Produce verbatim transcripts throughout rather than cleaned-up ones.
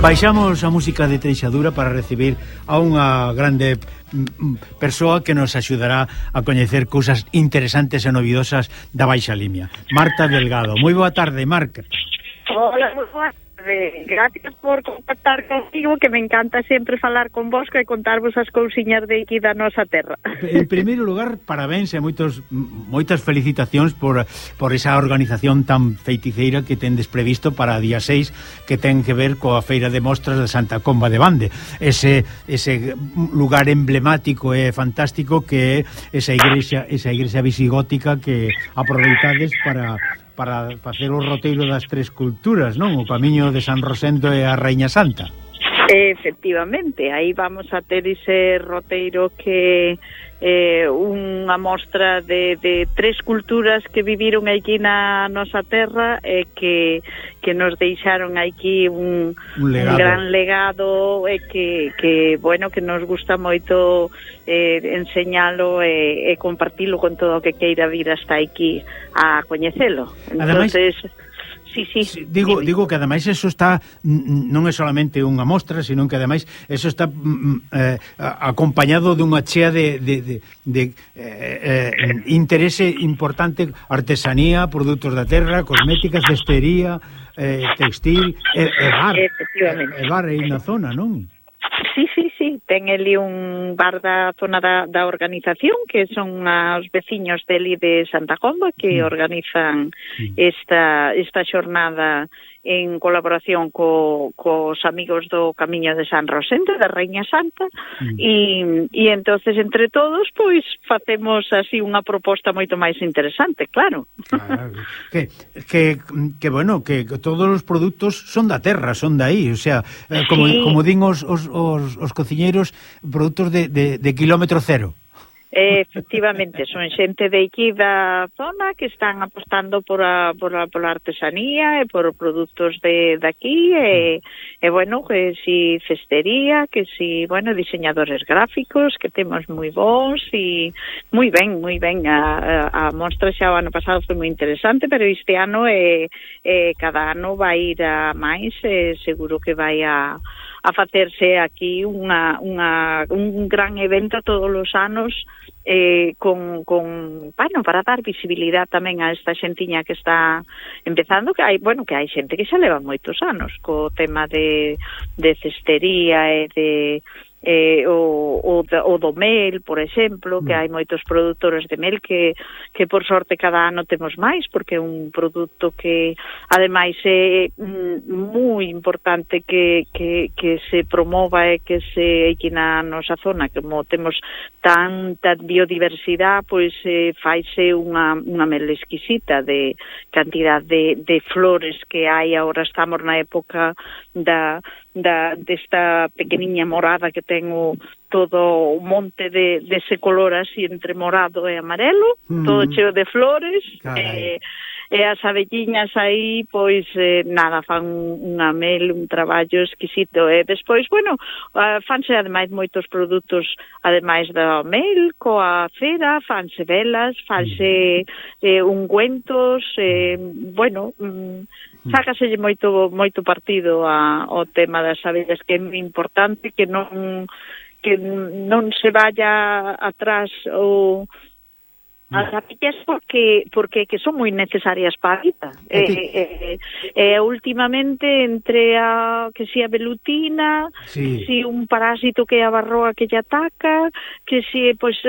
Baixamos a música de Treixadura para recibir a unha grande persoa que nos axudará a coñecer cousas interesantes e novidosas da Baixa Limia. Marta Delgado. Moi boa tarde, Marta. Hola, moi boa tarde. Gracias por contactar contigo, que me encanta sempre falar con vos e contarvos as cousiñas de aquí da nosa terra. En primeiro lugar, parabéns e moitos, moitas felicitacións por, por esa organización tan feiticeira que tendes previsto para a día seis, que ten que ver coa Feira de Mostras de Santa Comba de Bande. Ese, ese lugar emblemático e fantástico que é esa igrexa, esa igrexa visigótica que aproveitades para... para facer o roteiro das tres culturas, non? O camiño de San Rosendo e a Raíña Santa. Efectivamente, aí vamos a ter ese roteiro que é eh, unha mostra de, de tres culturas que viviron aquí na nosa terra e que, que nos deixaron aquí un, un, un gran legado e que, que, bueno, que nos gusta moito eh, enseñalo e, e compartilo con todo o que queira vir hasta aquí a coñecelo. Entonces... Ademais... Sí, sí. sí digo, sí. digo que ademais eso está non é solamente unha mostra, sino que ademais eso está eh, acompañado dunha chea de, de, de, de eh, eh, interese importante, artesanía, produtos da terra, cosméticas, cestería, eh, textil e, e bar. Efectivamente. E bar aí na zona, non? Sí, sí, sí, ten ali un bar da zona da, da organización, que son os veciños deli de Santa Comba, que mm. organizan mm. esta, esta xornada en colaboración co, cos amigos do Camiño de San Rosendo, da Raíña Santa, mm. e, e entonces entre todos, pois, facemos así unha proposta moito máis interesante, claro. Claro. Que, que, que, bueno, que todos os produtos son da terra, son de aí, o sea, eh, como, sí. como din os, os, os, os cociñeiros, produtos de, de, de kilómetro cero. Efectivamente, son xente de aquí da zona que están apostando por a, por a, por a artesanía e por produtos de, de aquí e, e bueno, que si cestería, que si, bueno, diseñadores gráficos, que temos moi bons e moi ben, moi ben. A, a, a mostra xa o ano pasado foi moi interesante, pero este ano eh, eh, cada ano vai ir a máis, eh, seguro que vai a a facerse aquí unha, unha, un gran evento todos os anos eh, con, con, bueno, para dar visibilidade tamén a esta xentiña que está empezando, que hai, bueno, que hai xente que xa leva moitos anos co tema de, de cestería e de eh, o, o, o do mel, por exemplo, que hai moitos produtores de mel que, que por sorte cada ano temos máis, porque é un produto que ademais é mm, moi importante que, que, que se promova e que se aquí na nosa zona, como temos tanta biodiversidade, pois eh, faise unha, unha mel exquisita de cantidad de, de flores que hai. Agora estamos na época da da desta pequeniña morada que ten o, todo o monte de, de ese color así entre morado e amarelo, mm. todo cheo de flores, e, e as abelliñas aí, pois, eh, nada, fan unha mel, un traballo exquisito. E despois, bueno, uh, fanse ademais moitos produtos, ademais da mel, coa cera, fanse velas, fanse eh, ungüentos, eh, bueno... Mm, sácaselle moito moito partido a, ao tema das abellas, que é moi importante que non que non se vaya atrás o as abellas, porque porque que son moi necesarias para a vida. Eh, eh, eh, últimamente entre a que si a velutina, sí. si un parásito que é a barroa que lle ataca, que si pois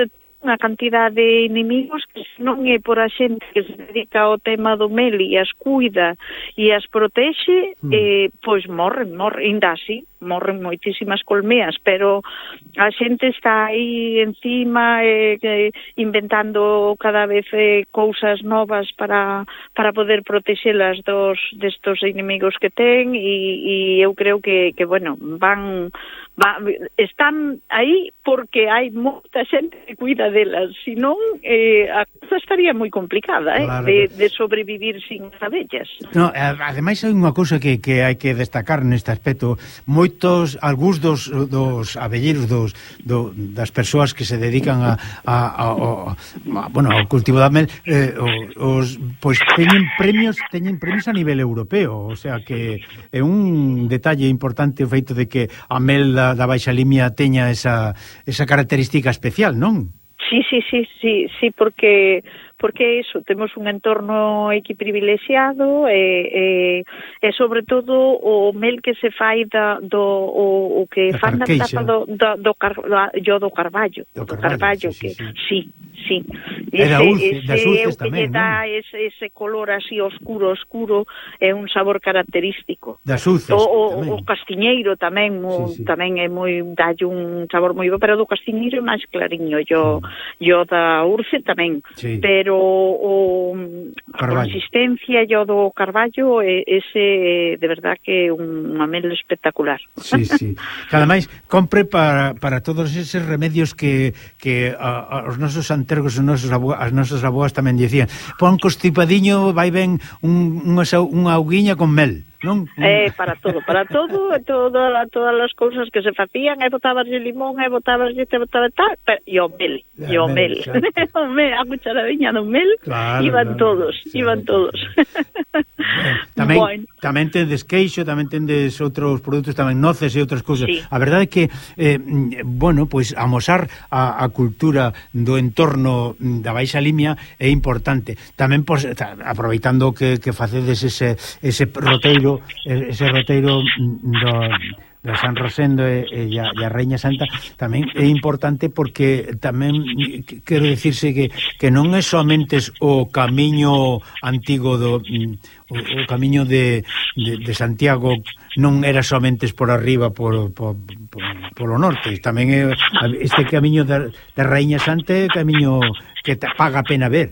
unha cantidad de inimigos que non é por a xente que se dedica ao tema do mel e as cuida e as protexe, mm. eh, pois morren, morren, ainda así, morren moitísimas colmeas, pero a xente está aí encima eh, eh, inventando cada vez eh, cousas novas para, para poder protexelas dos destos inimigos que ten e, e eu creo que, que bueno, van, van están aí porque hai moita xente que cuida delas, senón eh, a cosa estaría moi complicada, eh, claro, de, de sobrevivir sin as abellas. No, ademais hai unha cousa que, que hai que destacar neste aspecto. Moitos, algúns dos, dos abelleiros dos, do, das persoas que se dedican a, a, a, a, a bueno, ao cultivo da mel, eh, os, pois teñen premios, teñen premios a nivel europeo, o sea que é un detalle importante o feito de que a mel da, da Baixa Limia teña esa, esa característica especial, non? Sí, sí, sí, sí, sí, porque porque eso, temos un entorno aquí privilexiado e, e, e sobre todo o mel que se fai da, do o, o que fan na tapa do, do, do, car, do, do carballo, do, do carballo, sí, que sí, sí, sí. Era ese, ulce, das ulces tamén, non? Dá ese, ese color así oscuro, oscuro, é un sabor característico. Das ulces o, o, tamén. O castiñeiro tamén, o, sí, sí. tamén é moi, dalle un sabor moi bo, pero do castiñeiro é máis clariño, yo, sí. yo da urce tamén, sí. Pero o, a consistencia yo do carballo, ese de verdad que é un mel espectacular. Sí, sí. Que ademais compre para, para todos eses remedios que, que a, a, os nosos antergos, os nosos abo, as nosas aboas tamén dicían, pon constipadiño, vai ben un, unha, unha auguiña con mel. Non? Eh, para todo, para todo, toda, todas as cousas que se facían, e botabas de limón, e botabas de te botabas tal, pero, e o mel, e o mel, o mel, a cucharadiña do mel, claro, iban claro, todos, claro, iban todos. Bueno, tamén, bueno. tamén tendes queixo, tamén tendes outros produtos, tamén noces e outras cousas. Sí. A verdade é que, eh, bueno, pois pues, amosar a, a cultura do entorno da Baixa Limia é importante. Tamén, pues, aproveitando que, que facedes ese, ese roteiro ese roteiro do, do San Rosendo e, e, a, e a Raíña Santa tamén é importante porque tamén quero dicirse que, que non é somente o camiño antigo do o, o camiño de, de, de Santiago non era somente por arriba por, por, por, por o norte, tamén é este camiño da, da Raíña Santa é camiño que te paga a pena ver.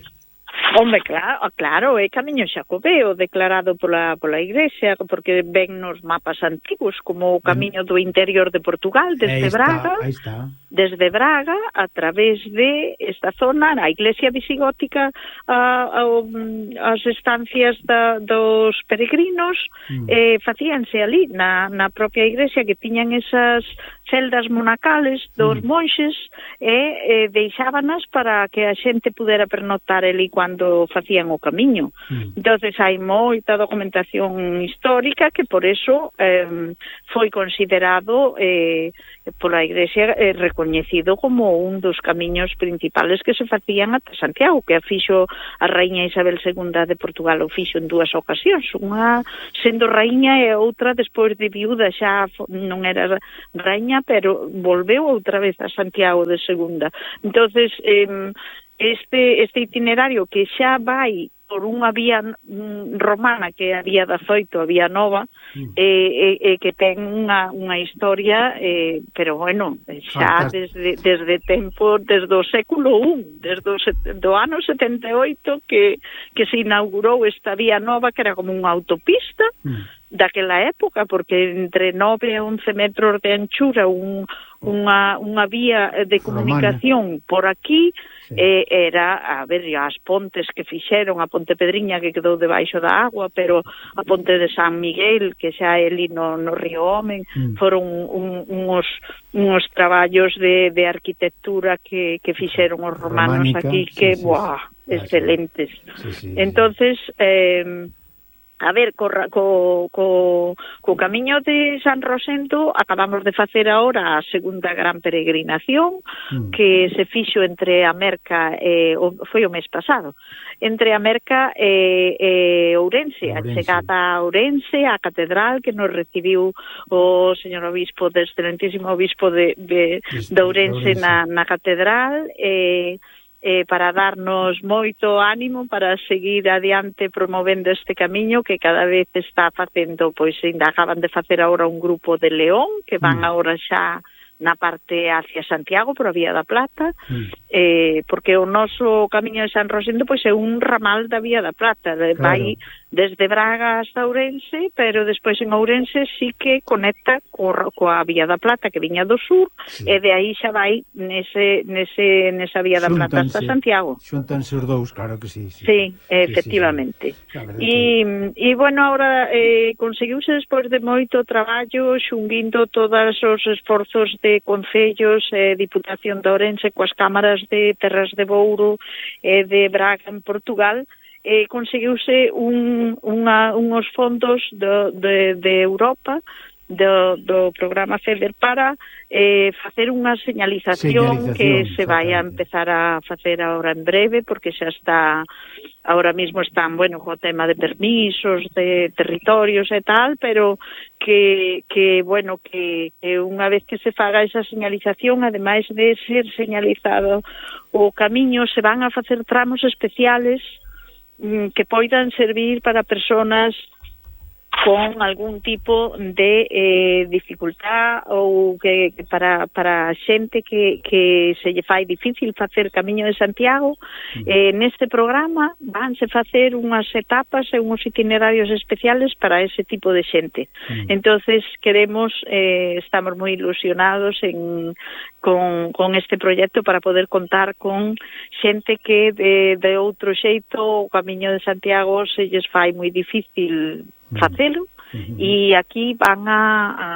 Hombre, claro, claro, é camiño xacobeo declarado pola, pola Igrexa, porque ven nos mapas antigos como o camiño do interior de Portugal, desde está, Braga, desde Braga, a través de esta zona, a Iglesia visigótica, a, a, as estancias da, dos peregrinos, mm. eh, facíanse ali, na, na propia Iglesia, que tiñan esas celdas monacales dos mm. monxes, e eh, deixábanas para que a xente pudera pernoctar ali cando facían o camiño. Mm. Entonces hai moita documentación histórica que por eso eh, foi considerado eh, pola Igrexa eh, recoñecido como un dos camiños principales que se facían ata Santiago, que a fixo a Raíña Isabel segunda de Portugal, o fixo en dúas ocasións, unha sendo raíña e outra despois de viúda, xa non era raíña, pero volveu outra vez a Santiago de segunda. Entonces eh, Este, este itinerario que xa vai por unha vía romana que é a vía dezoito, a vía nova, mm. e, e, e que ten unha, unha historia, eh, pero bueno, xa desde, desde tempo, desde o século un, desde o do ano setenta e oito que, que se inaugurou esta vía nova que era como unha autopista, mm. daquela época, porque entre nove e once metros de anchura un, unha, unha vía de comunicación romana por aquí, sí. eh, era, a ver, as pontes que fixeron, a Ponte Pedriña que quedou debaixo da agua, pero a Ponte de San Miguel, que xa é ali no, no Río Omen, mm. foron un, unos, unos traballos de, de arquitectura que, que fixeron os romanos Románica, aquí, que, sí, buah, sí, excelentes. Sí, sí, entonces, eh, a ver, co, co, co, co camiño de San Rosendo acabamos de facer agora a segunda gran peregrinación mm. que se fixo entre a Merca e, o, foi o mes pasado, entre a Merca e, e Ourense, a chegada a Ourense, a catedral que nos recibiu o señor obispo, de excelentísimo obispo de, de, de Ourense na, na catedral, e Eh, para darnos moito ánimo para seguir adiante promovendo este camiño que cada vez está facendo, pois ainda acaban de facer agora un grupo de León que van mm. agora xa na parte hacia Santiago, por a Vía da Plata, mm. eh, porque o noso camiño de San Rosendo pois é un ramal da Vía da Plata, de, claro. vai desde Braga hasta Ourense, pero despois en Ourense sí que conecta co, coa Vía da Plata que viña do sur, sí. E de aí xa vai nese, nese, nesa Vía da Plata hasta Santiago. Xuntanse os dous, claro que sí. Sí, sí efectivamente. Sí, sí, sí. E, e, bueno, ahora eh, conseguiuse despois de moito traballo xunguindo todos os esforzos de concellos e eh, Diputación de Ourense coas cámaras de Terras de Bouro e eh, de Braga en Portugal, eh, conseguiuse un, unha, unhos fondos do, de, de Europa do, do programa FEDER para eh, facer unha señalización, señalización que se vai a empezar a facer ahora en breve, porque xa está, ahora mismo están, bueno, co tema de permisos, de territorios e tal, pero que, que bueno, que, que unha vez que se faga esa señalización, ademais de ser señalizado o camiño, se van a facer tramos especiales que poidan servir para personas con algún tipo de eh, dificultad ou que, que para, para xente que, que se lle fai difícil facer Camiño de Santiago. Mm. Eh, neste programa vanse facer unhas etapas e unhos itinerarios especiales para ese tipo de xente. Mm. Entonces queremos, eh, estamos moi ilusionados en, con, con este proxecto para poder contar con xente que de, de outro xeito o Camiño de Santiago se lles fai moi difícil facelo, uh-huh. E aquí van a, a,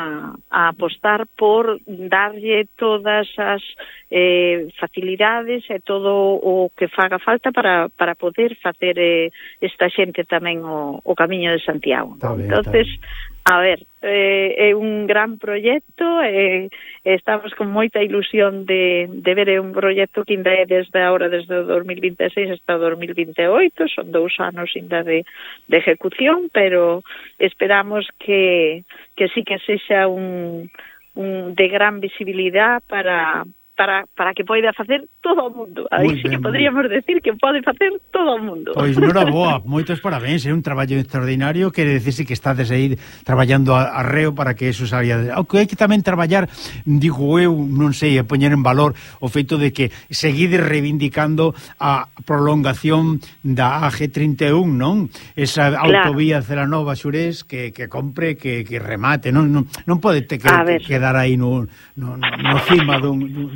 a apostar por darlle todas as eh, facilidades e todo o que faga falta para, para poder facer eh, esta xente tamén o, o Camiño de Santiago. Tá ben, entonces, tá ben. A ver, eh, é un gran proxecto, eh, estamos con moita ilusión de, de ver, é un proxecto que ainda é desde ahora, desde o dos mil vinte e seis hasta o dos mil vinte e oito, son dous anos ainda de, de ejecución, pero esperamos que, que sí que sexa un, un de gran visibilidad para... Para, para que poida facer todo o mundo. Aí sí que podríamos decir que pode facer todo o mundo. Pois nora boa, moitos parabéns, é un traballo extraordinario, quere decirse que estades aí traballando a, a reo para que eso saia. Aunque hai que tamén traballar, digo eu, non sei, a poñer en valor o feito de que seguides reivindicando a prolongación da A G trinta e un, non? Esa claro. Autovía Celanova Xurés que, que compre, que, que remate, non, non, non pode te que, que quedar aí no, no, no cima dun, dun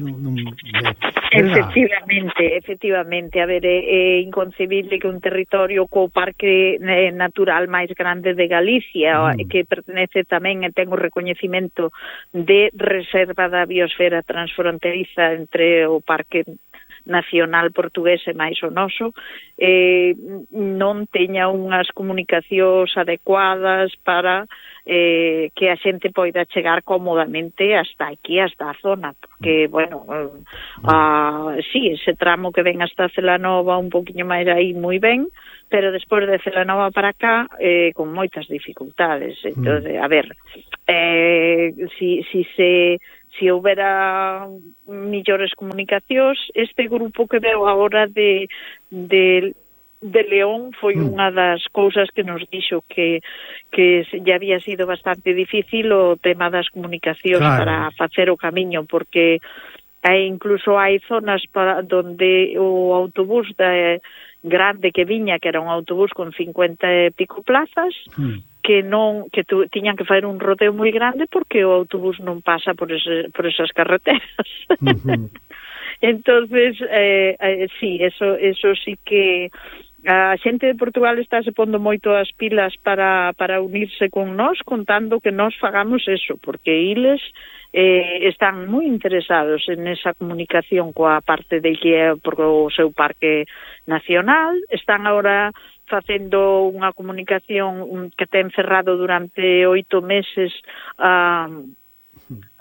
efectivamente, efectivamente, a ver, é, é inconcebible que un territorio co parque natural máis grande de Galicia, mm. que pertenece tamén e ten o recoñecemento de reserva da biosfera transfronteriza entre o parque nacional portugués e máis o noso, eh, non teña unhas comunicacións adecuadas para eh, que a xente poida chegar cómodamente hasta aquí, hasta a zona, porque, bueno, uh, sí, ese tramo que ven hasta Celanova un poquinho máis aí moi ben, pero despois de Celanova para cá, eh, con moitas dificultades. Entón, a ver, eh, si, si se... si houbera millores comunicacións, este grupo que veo agora de, de, de León foi mm. unha das cousas que nos dixo que, que ya había sido bastante difícil o tema das comunicacións claro. Para facer o camiño, porque hai, incluso hai zonas para donde o autobús da grande que viña, que era un autobús con cincuenta e pico plazas, mm. que non que tu, tiñan que fazer un rodeo moi grande porque o autobús non pasa por, ese, por esas carreteras. Uh-huh. Entonces, eh, eh, sí, eso, eso sí que a xente de Portugal está se pondo moito as pilas para, para unirse con nós, contando que nós fagamos eso, porque iles eh, están moi interesados en esa comunicación coa parte de que é por o seu parque nacional, están agora facendo unha comunicación que ten cerrado durante oito meses a uh,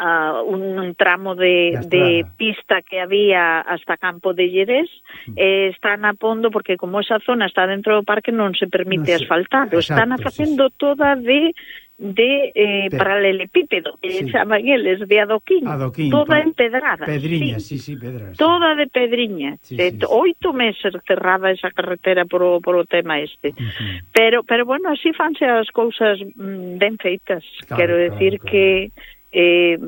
uh, un, un tramo de, de pista que había hasta Campo de Llerés, eh, están a pondo, porque como esa zona está dentro do parque non se permite no sé. asfaltar, están a facendo sí, sí. toda de de eh, paralelepípedo, que sí. chaman eles, de adoquín, adoquín toda empedrada. Pedriña, sí, sí, sí pedras. Toda de pedriña. Sí, de, sí, sí. Oito meses cerrada esa carretera por o, por o tema este. Uh-huh. Pero, pero bueno, así fanse as cousas mm, ben feitas. Claro, quero decir claro, claro. que eh,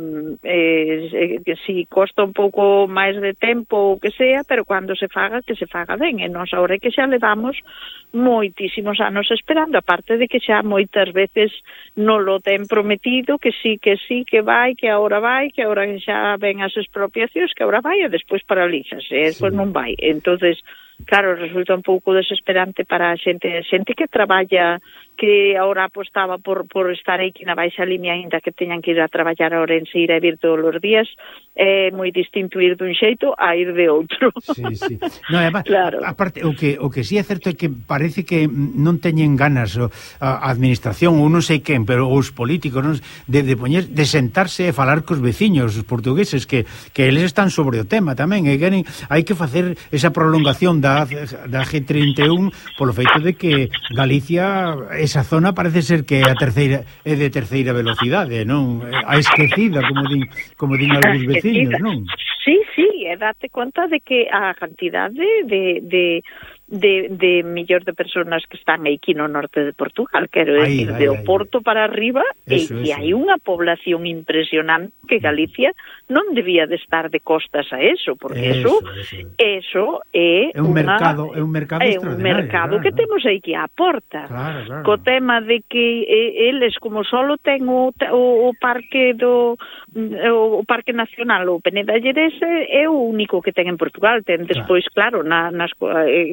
eh, que si costa un pouco máis de tempo ou que sea, pero cando se faga, que se faga ben, e nós agora que xa levamos moitísimos anos esperando, aparte de que xa moitas veces non lo ten prometido, que sí, que sí, que vai, que agora vai, que agora xa ven as expropiacións, que agora vai e despois paralizas, e despois sí. non vai. Entonces, claro, resulta un pouco desesperante para a xente, a xente que traballa, que agora apostaba por, por estar aquí na baixa línea, ainda que teñan que ir a traballar a Ourense, ir a vir todos os días, é moi distinto ir dun xeito a ir de outro. Sí, sí. No, además, claro. Aparte, o que, o que sí é certo é que parece que non teñen ganas o, a administración, ou non sei quen, pero os políticos, non, de, de, poñer, de sentarse e falar cos veciños, os portugueses, que, que eles están sobre o tema tamén, e queren, hai que facer esa prolongación da, da G trinta e un polo feito de que Galicia, esa zona parece ser que a terceira é de terceira velocidade, non? A esquecida, como din, como din algúns veciños, non? Sí, sí, e date conta de que a cantidade de, de, de, de millóns de personas que están aquí no norte de Portugal, quero decir, de o Porto para arriba, eso, e que hai unha población impresionante que Galicia non debía de estar de costas a eso, porque eso eso, eso é, é un una, mercado, é un mercado é un mercado claro, que claro. temos aquí á porta. Claro, claro. Co tema de que eh, eles como solo ten o, o, o parque do o, o Parque Nacional, o Peneda Llerese é o único que ten en Portugal, ten despois claro, claro na, nas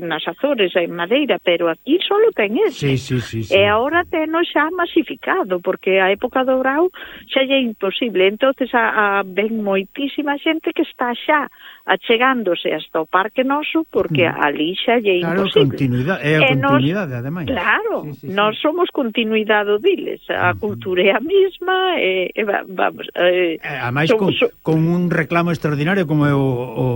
nas Azores, en Madeira, pero aquí solo ten ese. Sí, sí, sí, sí. E agora teno xa masificado, porque a época do Brau xa é imposible. Entonces a, a ven moitísima xente que está xa achegándose hasta o Parque Noso, porque mm. ali xa é claro, imposible. Continuidade, é a e continuidade, nos, ademais. Claro, sí, sí, sí. nós somos continuidade diles. A mm. cultura é a mesma, e, e vamos... E, ademais, con, so, con un reclamo extraordinario como é o... o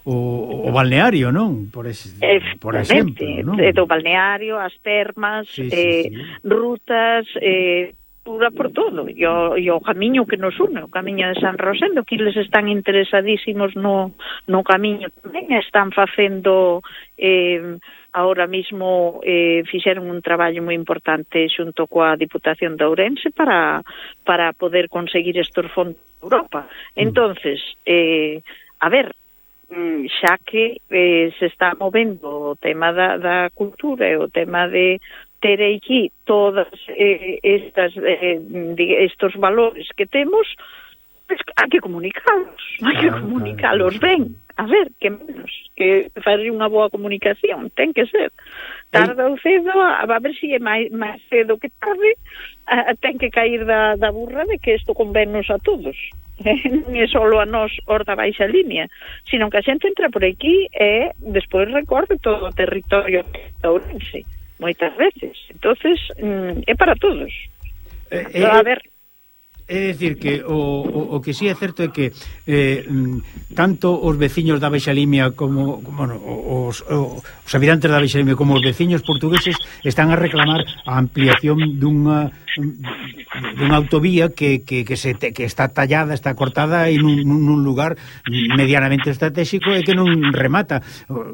O, o balneario, non? Por, es, por exemplo, non? Do balneario, as termas, sí, sí, eh, sí. rutas, eh, pura por todo. E o, e o camiño que nos une, o camiño de San Rosendo, que eles están interesadísimos no, no camiño tamén, están facendo... Eh, ahora mismo eh, fixeron un traballo moi importante xunto coa Diputación de Ourense para, para poder conseguir estos fondos de Europa. Entonces, eh, a ver, xa que eh, se está movendo o tema da, da cultura e o tema de ter aquí todas eh, estas eh, estos valores que temos, pues, hai que comunicalos, hai que comunicalos ben. A ver, que menos, que fazer unha boa comunicación, ten que ser. Tarda ou cedo, a, a ver se si é máis, máis cedo que tarde, a, a, ten que cair da, da burra de que isto convennos a todos. Non é só a nós os da baixa línea, sino que a xente entra por aquí e despois recorre todo o territorio de Ourense, moitas veces. Entonces, mm, é para todos. Eh, eh, a ver... É dicir que o, o, o que sí é certo é que eh, tanto os veciños da Baixa Limia como bueno, os, os habitantes da Baixa Limia como os veciños portugueses están a reclamar a ampliación dunha dunha autovía que, que, que, se, que está tallada, está cortada en un, nun lugar medianamente estratégico e que non remata.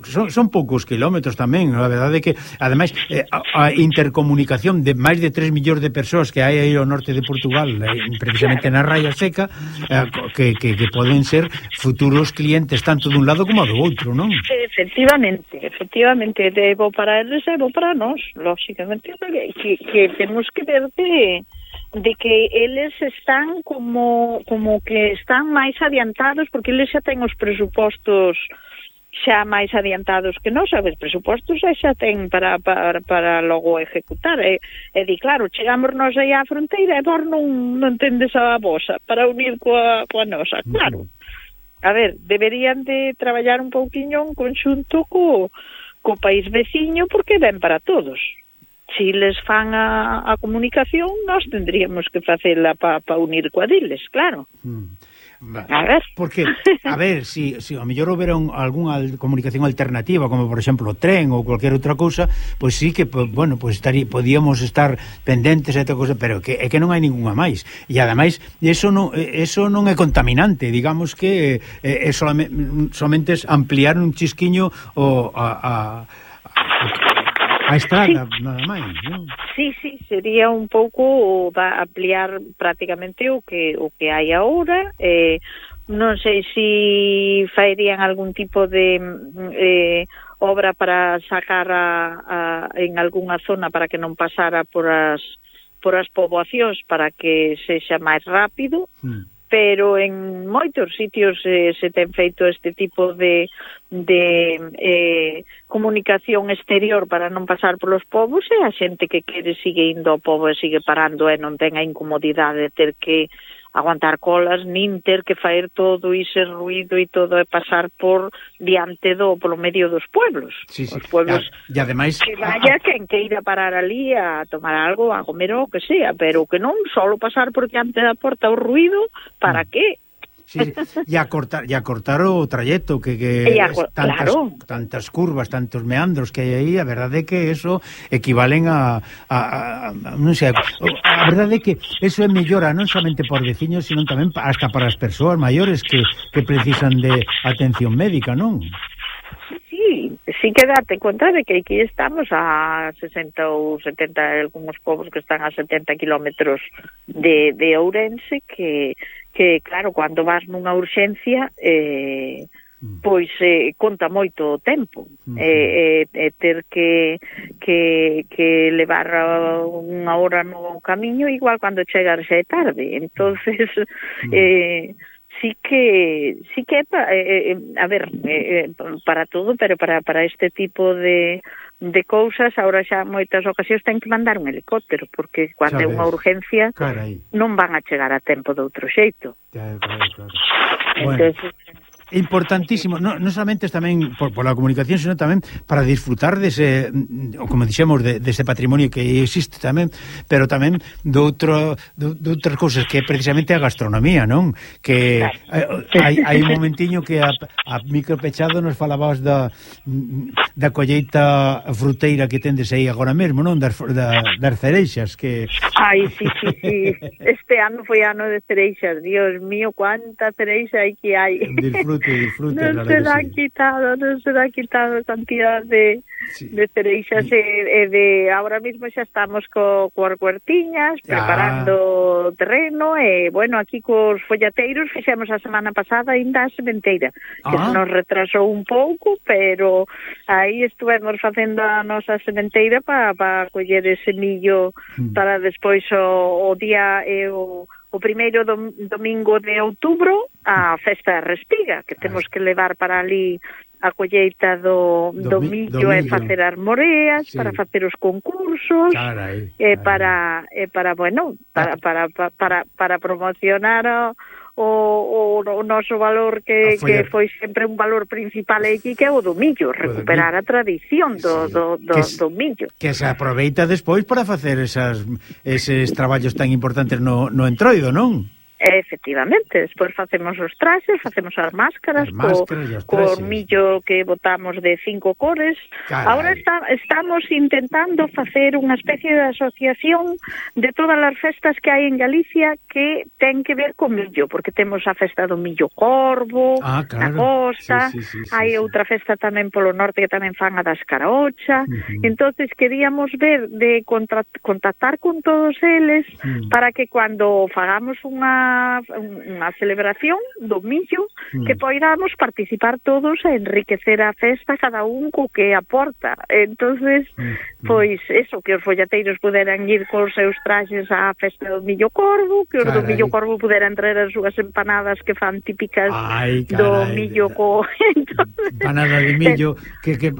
Son, son poucos kilómetros tamén, a verdade é que ademais eh, a, a intercomunicación de máis de tres millóns de persoas que hai aí ao norte de Portugal, eh, precisamente na Raya Seca, eh, que, que, que poden ser futuros clientes tanto dun lado como do outro, non? Efectivamente, efectivamente, é bo para eles e bo para nós, lógicamente, que, que temos que ver de, de que eles están como, como que están máis adiantados, porque eles xa ten os presupostos xa máis adiantados que nós, sabes, presupostos xa ten para, para, para logo ejecutar, e, e di, claro, chegamos nós aí á fronteira e vos non, non tendes a vosa para unir coa, coa nosa, claro. A ver, deberían de traballar un pouquiño en conxunto co, co país veciño, porque ben para todos. Si les fan a, a comunicación, nós tendríamos que facela para pa unir coa diles, claro. Mm. A ver. Porque, a ver, si, si a mellor houbera algunha comunicación alternativa, como por exemplo o tren ou cualquier outra cousa, pois sí que, pues, bueno, pues estarí, podíamos estar pendentes a esta cousa, pero que, é que non hai ninguna máis. E ademais, eso non, eso non é contaminante, digamos que é, é solamente, solamente ampliar un chisquiño o a, a, a a estrada, sí, nada máis, non? Sí, sí, sería un pouco va ampliar prácticamente o que o que hai agora. Eh, non sei se si farían algún tipo de eh, obra para sacar a, a, en algunha zona para que non pasara por as por as poboacións para que sexa máis rápido, mm. pero en moitos sitios eh, se ten feito este tipo de, de eh, comunicación exterior para non pasar polos povos, e a xente que quere sigue indo ao pobo e sigue parando e non ten a incomodidade de ter que aguantar colas, nin ter que faer todo ese ruido e todo e pasar por diante do, polo medio dos pueblos. Sí, sí. Os pueblos e ademais que vaya quen que ir a parar ali a tomar algo, a comer o que sea, pero que non solo pasar por diante da porta o ruido, para mm. que? Sí, e a cortar e a cortar o trayecto que, que a, tantas, claro. tantas curvas, tantos meandros que hai aí, a verdade é que eso equivalen a, a, a, a non sei, a verdade é que eso é mellora non somente por veciños, sino tamén hasta para as persoas maiores que, que precisan de atención médica, non? Sí, sí que date conta de que aquí estamos a sesenta ou setenta, algúns povos que están a setenta kilómetros de, de Ourense, que que, claro, cando vas nunha urxencia, eh, pois eh, conta moito o tempo. Uh-huh. eh, eh, ter que, que, que levar unha hora no camiño, igual cando chegar xa é tarde. Entonces, uh-huh. eh, sí que, sí que eh, eh, a ver, eh, para todo, pero para, para este tipo de... de cousas, agora xa moitas ocasións ten que mandar un helicóptero, porque cando é unha urgencia Carai. non van a chegar a tempo de outro xeito. Claro, claro, claro. Entonces, bueno, importantísimo, non no solamente tamén por, por la comunicación, sino tamén para disfrutar dese, como dixemos, de, dese patrimonio que existe tamén, pero tamén de outro de, de outras cousas que é precisamente a gastronomía, non? Que claro. hai, hai un momentiño que a, a micro pechado nos falabas da da colleita fruteira que tendes aí agora mesmo, non? Das, da, das cereixas que... Ai, sí, sí, sí. Este ano foi ano de cereixas, Dios mío, cuánta cereixa hai que hai. Disfrute, disfrute, non claro se dá sí. quitado, non se dá quitado cantidad de, sí. de cereixas e, e de ahora mismo xa estamos co, coas huertiñas preparando ah. terreno e bueno, aquí cos follateiros fixemos a semana pasada ainda a sementeira que ah. se nos retrasou un pouco, pero aí estuvemos facendo a nosa sementeira para pa coller ese millo mm. para despois o, o día e o o primeiro dom, domingo de outubro a festa de Respiga, que temos que levar para ali a colleita do, do, do millo e facer as moreas, sí. para facer os concursos, carai, e carai. para e para bueno, para para para para, para promocionar o O, o, o noso valor que, foi, que foi sempre un valor principal aquí, que é o do millo, recuperar a tradición do, sí. do, do, do millo. Que se aproveita despois para facer esas, eses traballos tan importantes no, no entroido, non? Efectivamente, despois facemos os traxes, facemos as máscaras, as máscaras co, co millo que botamos de cinco cores. Carai. Ahora está, estamos intentando facer unha especie de asociación de todas as festas que hai en Galicia que ten que ver con millo, porque temos a festa do millo corvo, ah, claro. na costa, sí, sí, sí, sí, hai sí. outra festa tamén polo norte que tamén fan a da escaraocha. Uh-huh. Entonces queríamos ver de contactar con todos eles uh-huh. para que cando fagamos unha unha celebración do millo mm. que poidamos participar todos e enriquecer a festa cada un co que aporta. Entonces, mm. pois eso, que os follateiros puderan ir cos seus traxes á festa do millo corvo, que os carai. do millo corvo puderan traer as súas empanadas que fan típicas Ay, carai, do millo co... Entonces, empanada de millo que, que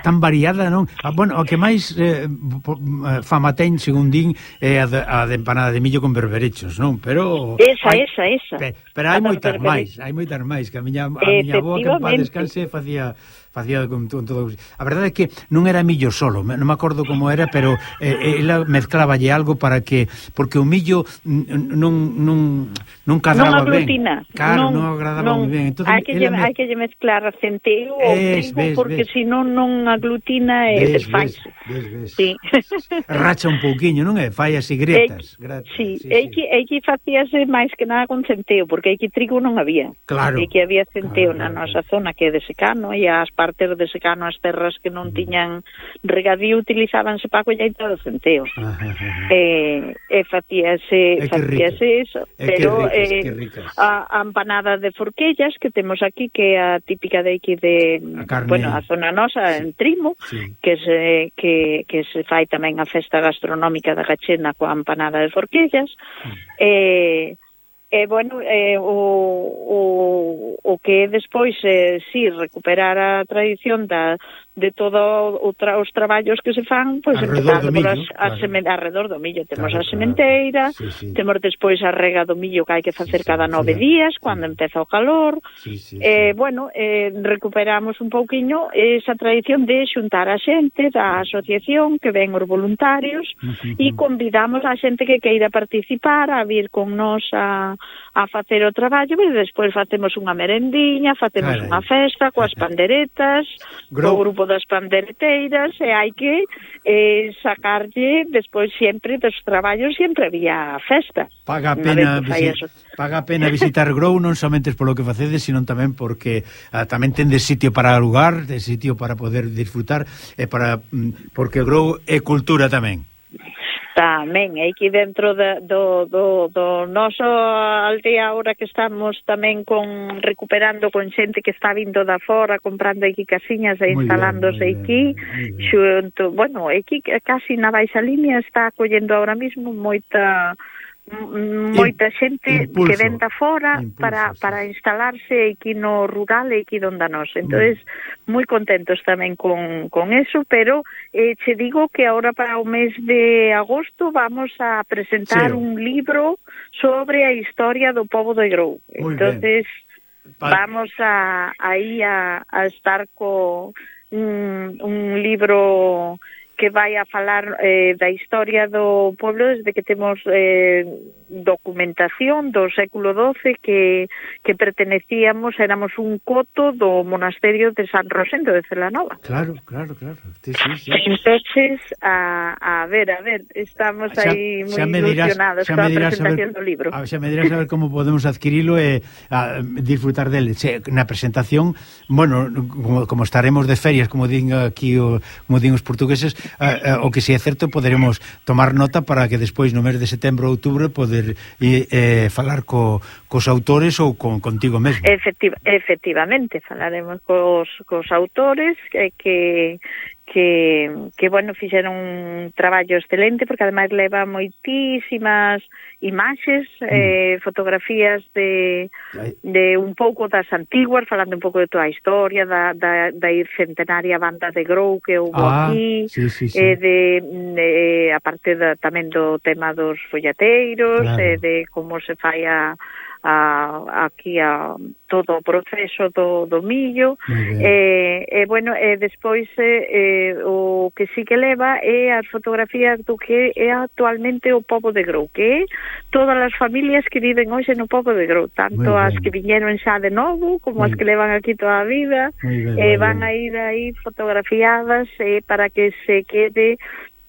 tan variada, non? Ah, bueno, o que máis eh, fama ten, según din, é a de, a de empanada de millo con berberechos, non? Pero... Esa, hai, esa, esa. Pe, pero hai moitas máis, hai moitas máis, que a miña, a miña avó que en paz descanse facía facía con, con todo. A verdade é que non era millo solo, non me acordo como era, pero eh, ela mezcláballe algo para que, porque o millo non non non cadraba non ben. Claro, non, non agradaba non, moi ben. Entonces, hai que lle, me... hai que lle mezclar centeo ou trigo, porque senón non aglutina e desfais. Sí. Racha un pouquiño, non é? Fai así gretas. E, gretas sí, sí, e que e que facíase máis que nada con centeo, porque aí que trigo non había. Claro. E que había centeo claro, na claro, nosa zona que é de secano e as partes ter de secano as terras que non tiñan regadío, utilizábanse para a colleita do centeo. E, e facíase, facíase eso. Pero ricas, eh, a, a empanada de forquellas que temos aquí, que é a típica de aquí de, a carne, bueno, a zona nosa, sí, en Trimo, sí, que se, que, que se fai tamén a festa gastronómica da Gachena coa empanada de forquellas. Mm. E E, bueno, eh, o, o, o que despois, eh, sí, recuperar a tradición da, de todos tra, os traballos que se fan, pois pues, empezando por as, claro, as semen, alrededor do millo. Temos claro, a sementeira, claro, sí, sí, temos despois a rega do millo que hai que facer sí, sí, cada nove sí, días, cuando sí, empeza o calor. Sí, sí, eh, sí. Bueno, eh, recuperamos un pouquiño esa tradición de xuntar a xente da asociación, que ven os voluntarios, uh -huh, e convidamos a xente que queira participar a vir con nós a a facer o traballo, e despois facemos unha merendiña, facemos Carai. unha festa coas panderetas, Gro... o grupo das pandereteiras, e hai que eh, sacarlle despois sempre dos traballos, sempre había festa. Paga a pena, visi... paga a pena visitar Grou, non somente polo que facedes, sino tamén porque ah, tamén tendes sitio para alugar, de sitio para poder disfrutar, e para porque Grou é cultura tamén. Tamén, aquí dentro de, do, do, do noso aldea, ahora que estamos tamén con recuperando con xente que está vindo da fora, comprando aquí casiñas e instalándose aquí, xunto, bueno, aquí casi na baixa línea está acollendo ahora mismo moita moita xente impulso, que ven da fora impulso, para, sí, para instalarse aquí no rural e aquí donde a nos. Entonces, mm. moi contentos tamén con, con eso, pero eh, che digo que ahora para o mes de agosto vamos a presentar sí, un libro sobre a historia do pobo de Grou. Entonces, vamos a, aí a, a estar co un, un libro que vai a falar eh, da historia do pueblo desde que temos eh, documentación do século doce que, que pertenecíamos, éramos un coto do monasterio de San Rosendo de Celanova. Claro, claro, claro. Sí, sí, sí. Entonces, a, a ver, a ver, estamos xa, aí moi ilusionados con a presentación saber, do libro. A, xa me dirás a ver como podemos adquirilo e a, disfrutar dele. Xe, na presentación, bueno, como, como estaremos de ferias, como din aquí o, como din os portugueses, Uh, uh, o que si é certo poderemos tomar nota para que despois no mes de setembro ou outubro poder eh, eh, falar co, cos autores ou con, contigo mesmo. Efectiva, efectivamente, falaremos cos, cos autores que, que que, que bueno, fixeron un traballo excelente porque ademais leva moitísimas imaxes, mm. eh, fotografías de, de un pouco das antiguas, falando un pouco de toda a historia da, da, da centenaria banda de Grou que houve ah, aquí, sí, sí, sí. Eh, de, de a parte da, tamén do tema dos follateiros, claro. eh, de como se fai a A, aquí a todo o proceso do, do millo e, eh, eh, bueno, e eh, despois eh, o que sí que leva é as fotografías do que é actualmente o pobo de Grou, que é todas as familias que viven hoxe no pobo de Grou, tanto as que viñeron xa de novo como muy as que levan aquí toda a vida, bien, eh, van a ir aí fotografiadas eh, para que se quede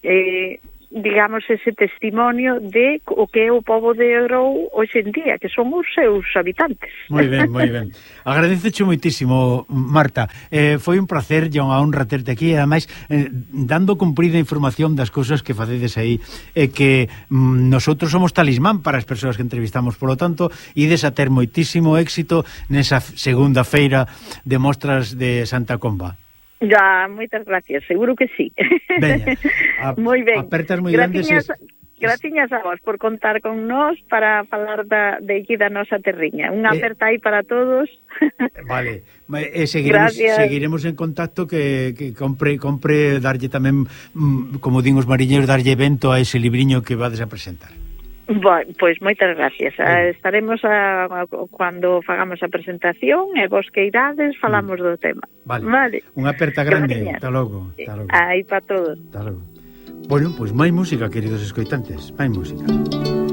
eh, digamos, ese testimonio de o que é o pobo de Grou hoxe en día, que son os seus habitantes. Moi ben, moi ben. Agradececho moitísimo, Marta. Eh, foi un placer e unha honra terte aquí, e ademais, eh, dando cumprida información das cousas que facedes aí, e eh, que mm, nosotros somos talismán para as persoas que entrevistamos, polo tanto, ides a ter moitísimo éxito nesa segunda feira de mostras de Santa Comba. Ya, moitas gracias, seguro que sí. Veña, moi ben. Apertas moi grandes. Graciñas a vos por contar con nós para falar da, de aquí da nosa terriña. Unha eh, aperta aí para todos. Vale, e seguiremos, seguiremos en contacto que, que compre, compre darlle tamén, como din os mariñeiros, darlle evento a ese libriño que vades a presentar. Bueno, pois moitas gracias. Eh, estaremos a, a, cando fagamos a presentación e vos que irades falamos mm. do tema. Vale. Vale. Unha aperta grande. Hasta logo. Hasta logo. Aí para todos. Hasta logo. Bueno, pois máis música, queridos escoitantes. Máis música.